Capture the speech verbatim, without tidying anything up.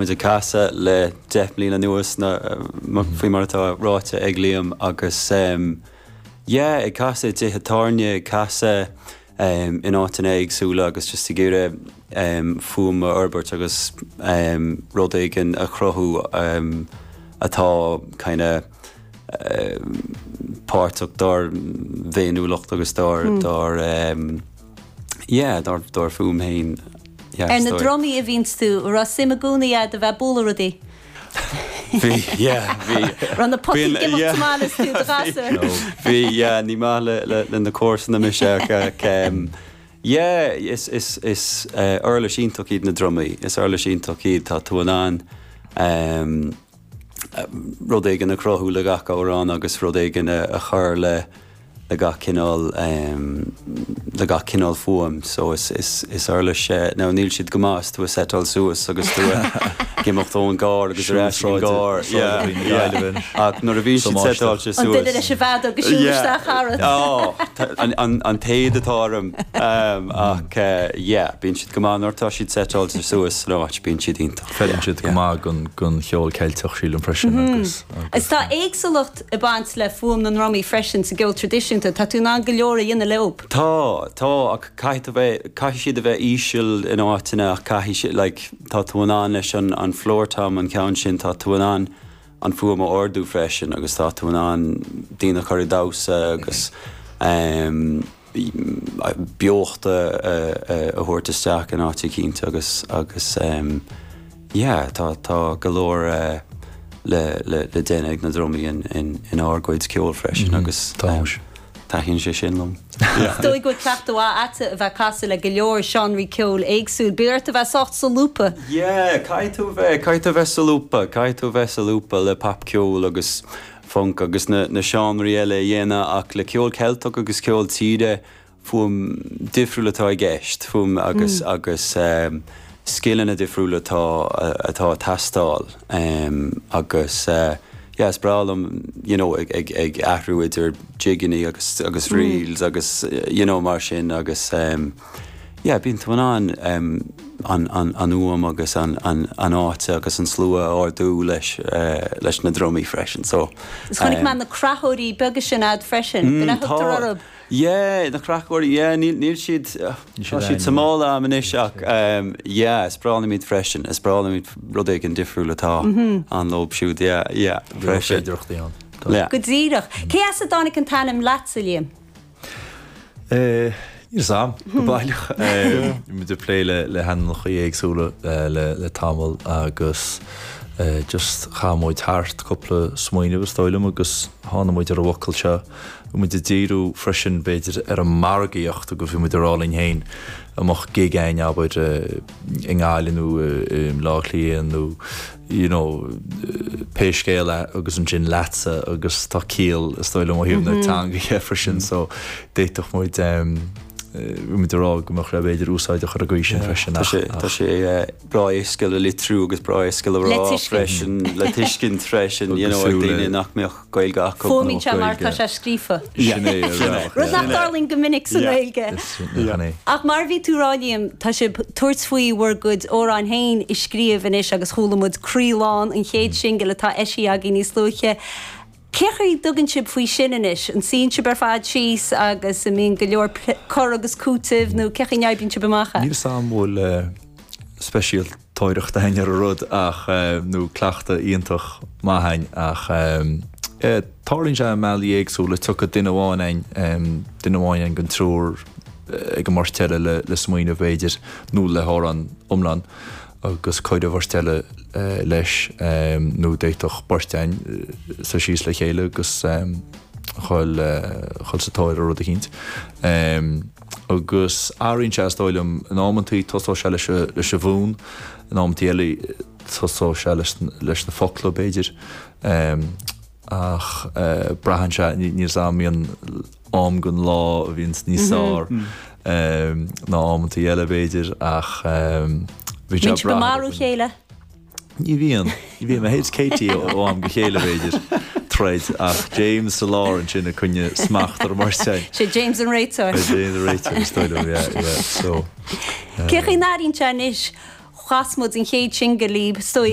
Muid ag casadh le deich mbliana anuas na faoi mar atá ráite ag Liam agus um, yeah, ag casadh tithe tábhairne ag casadh um, in áiteanna éagsúla agus just ag iarraidh um, fuaim a fhorbairt agus um, rud éigin a chruthú um, atá kind of um, páirteach dár bhféiniúlacht agus dár mm. dár um, yeah, dár dár fuaim féin. Ar na drumaí a bhíonns tú raibh suim i gcónaí agat a bheith ag bualadh rudaí. Bhí yeah, bhí Ran na potaí gimaach tú do ghasúr. Bhí yeah, ní maith le le le na comharsana mise ach um, yeah, is is is uh, uirlis iontach iad na drumaí, is uirlis iontach iad tá tú in ann um, rud éigin a chruthú le gach amhrán agus rud éigin a, a chur le le gach cineál um, le gach cineál fuaim, so is is is uirlis uh, now níl siad go maith tú a setáil suas agus tú ag imeacht ón gcarr agus ar ais an gcarr ach nuair a bhí siad setáilte suas. An duine leis an bhfeadóg go siúl isteach tharat. Ó an, an, an téad atá orm um, ach uh, yeah, bíonn siad go maith nuair tá siad setáilte suas san áit bíonn siad iontach. Feileann siad go maith gon gon cheol Ceilteach sílim freisin agus Is tá éagsúlacht ag baint le fuaim na ndrumaí freisin sa gceol traidisiúnta, tá tú in ann go leor a dhéanamh leo. Tá tá ach caithfidh tú bheith caithfidh siad a bheith íseal in áiteanna ach caithfidh siad like, tá tú in ann leis an an floor tom an ceann sin tá tú in ann an fuaim a ardú freisin agus tá tú in ann daoine a chur ag damhsa agus um, beocht a, a, a thabhairt isteach in áit eicínt agus agus um, yeah, tá tá go leor uh, le, le, le déanamh ag na drumaí in, in, in ár gcuid ceoil freisin mm -hmm. agus Tá. um, taitníonn sé sin liom. Is dóigh go bhfuil cleachtadh agat a bheith ag casadh le go leor seánraí ceoil éagsúil, Bíonn ort a bheith sách solúbtha. Yeah, caithfidh tú bheith caithfidh tú bheith solúbtha, caithfidh tú bheith solúbtha le popcheol agus funk agus na, na seánraí eile a dhéanamh ach le ceol Ceilteach agus ceol tíre fuaim difriúil atá i gceist, fuaim agus mm. agus um, scileanna difriúla atá atá ag teastáil um, agus uh, yeah, is breá liom you know, ag, ag, ag athrú idir jigeanna agus agus mm. reels agus you know, mar sin agus um, yeah, bíonn tú in ann um, an, an, an fhuaim agus an, an, an áit agus an slua a ardú leis, uh, leis na drumaí freisin. So, Is chonaic mé na creachóirí beaga sin agat freisin, mm, B'in a thugtar orthu. Yeah, na creachóirí, yeah, níl, níl siad tá siad sa mála agam anois ach um, yeah, is breá liom iad freisin, is breá liom iad rud éigin difriúil atá ann leo siúd, yeah, yeah, freisin. Féidearthachtaí ann. Yeah. Go díreach. Cé as a dtáinig an t-ainm leatsa Liam? Eh, Níl a fhios agam go baileach muid ag plé le le hainmneacha éagsúla le le tamall agus just chaith muid thart cúpla smaoineamh is dóigh liom agus tháinig muid ar an bhfocal seo. Bhí muid ag díriú freisin b'fhéidir ar an margaíocht agus bhí muid ag rá linn féin amach gig againn abair i nGaillimh nó i mBleá Cliath nó you know, pé scéal é agus ansin leatsa agus tá ciall is dóigh liom ó thaobh na teanga freisin so d'fhéadfadh muid bhí muid ag rá go mbeadh sé b'fhéidir úsáideach ar an gcaoi sin freisin Tá sé tá sé breá éasca le litriú agus breá éasca le Le rá tuiscint. freisin le tuiscint freisin you know, ag daoine nach mbeadh Gaeilge acu. Fuaimíonn sé mar tá sé scríofa. Sin é ar Rud nach dtarlaíonn go minic sa Ghaeilge. é. Ach mar bhí tú ag rá Liam tá sibh ag tabhairt faoi bhur gcuid amhrán féin a scríobh anois agus chuala muid Croí Lán an chéad singil atá eisithe agaibh níos luaithe. Cé chaoi dtugann sibh faoi sin anois, an suíonn sibh ar fad síos agus a mbíonn go leor cur agus cúiteamh nó cé chaoi n-oibríonn sibh amach é? Níl sam bhfuil speisialtóireacht againn ar an rud ach nó cleachtadh iontach maith againn ach tarlaíonn sé i mbealaí éagsúla tiocfaidh duine amháin againn duine amháin againn den triúr ag an mbeirt eile le le smaoineamh b'fhéidir nó le hamhrán iomlán agus cuid an bheirt eile leis nó d'fhéadfadh beirt againn suí síos le chéile agus chul chul sa tóir ar rud eicínt. Agus athraíonn sé is dóigh liom in amantaí tosóidh sé leis leis an bhfonn, in amantaí eile tosóidh sé leis leis na focla b'fhéidir. Ach braitheann sé níl a fhios agam bíonn am den lá a bhíonn níos fearr ná amantaí eile b'fhéidir ach bhí sé Bíonn sibh ag marú chéile? Ní bhíonn, ní bhíonn mé is Katie ó am go chéile b'fhéidir troid ach James sa lár ansin ag coinneáil smacht ar an mbeirt. Sé James an réiteoir. James an réiteoir is dóigh liom, yeah, yeah, so. Cé chaoi n-airíonn sé anois chas muid an chéad singil libh, is dóigh.